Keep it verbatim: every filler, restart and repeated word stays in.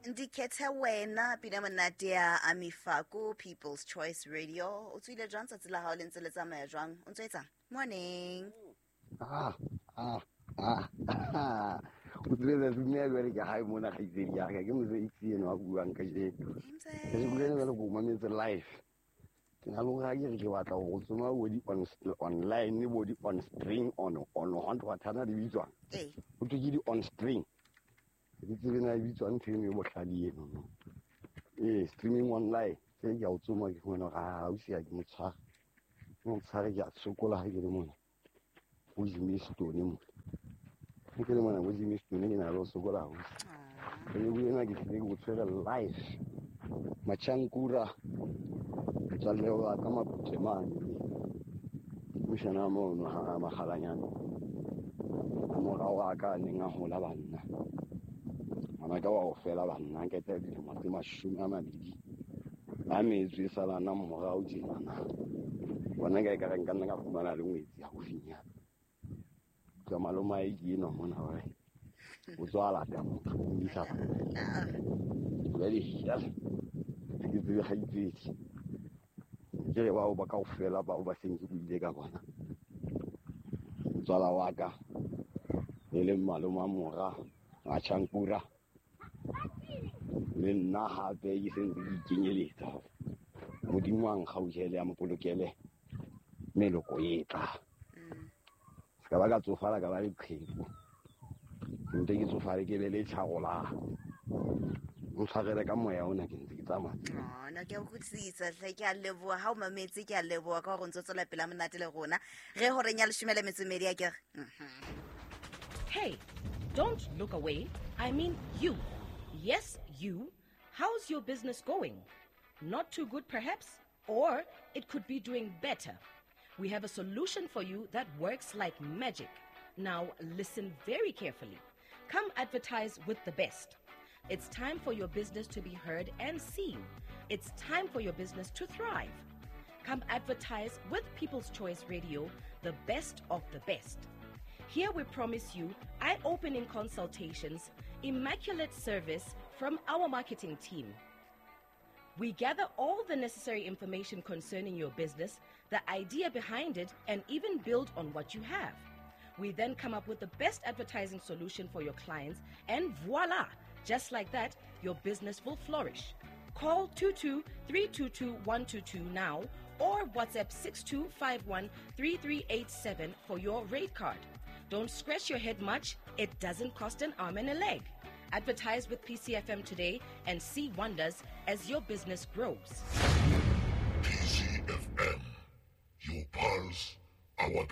Ndikhethe wena pina monate ya Amifako People's Choice Radio. O tswile jwang tsatsi la hao le ntse le tsamaya jwang? O ntso etsang? Morning. Ah, ah, ah, ah. O tswile tsatsi le ke hae mona kgaitsedi ya ka ke motse itse eno a buang ka jeno. Ke se bulela le go mametse live. Ke na le hore ha ke re ke batla go tsoma bo di on online bo di on string on on ho ntho di bitswang. Ee. Ho thwe ke di on string. Ke tsebe na e bitswang ntho eno e bohlale eno no. Ee, streaming online. Ke ke a o tsoma ke fumana hore ha o sia ke motshware. Ke motshware ke a sokola ha ke le mona. O Jimmy Stone mo. Ke le mona bo Jimmy Stone ke na le ho sokola haholo. Ke le buena ke tlile ke o tshwere live. Machankura. Motswalle wa ka Maputle mane. Moshana mono ha Makgalanyane. Morao wa ka neng a hola banna. Ngwana ka wa ho fela banna ke tla dilemo tse mashome a mabedi. A metso e salana morao tjenana. Bona ka ekare nka nna ka fumana le ngwetsi haufinyana. Ka maloma e ke enwa mona hore o tswa lata motho o mmisa. Jwale ya ke tsebe kgaitsedi. Ke re bao ba kaofela bao ba seng ke buile ka bona. Motswala wa ka e leng malome wa mora Machankura. Le nna hape ke sentse ke ikenyeletsa hore Modimo a nkgauhele a mpolokele meloko e tla. Se ka ba ka tsofala ka ba le qheku. Nte ke tsofale ke be le tjharola. Ntshwarele ka moya ona ke ntse ke tsamaya. Oh, no ke a utlwisisa hle, ke a leboha ha o mametse, ke a leboha ka hore o ntso tswela pele monate le rona. Re horeng ya leshome le metso e mmedi akere. Hey, don't look away. I mean you. Yes, you. How's your business going? Not too good perhaps, or it could be doing better. We have a solution for you that works like magic. Now listen very carefully. Come advertise with the best. It's time for your business to be heard and seen. It's time for your business to thrive. Come advertise with People's Choice Radio, the best of the best. Here we promise you eye-opening consultations, immaculate service from our marketing team. We gather all the necessary information concerning your business, the idea behind it, and even build on what you have. We then come up with the best advertising solution for your clients, and voila! Just like that, your business will flourish. Call two two three two two one two two now or WhatsApp six two five one three three eight seven for your rate card. Don't scratch your head much. It doesn't cost an arm and a leg. Advertise with P C F M today and see wonders as your business grows. P C F M, your pulse, our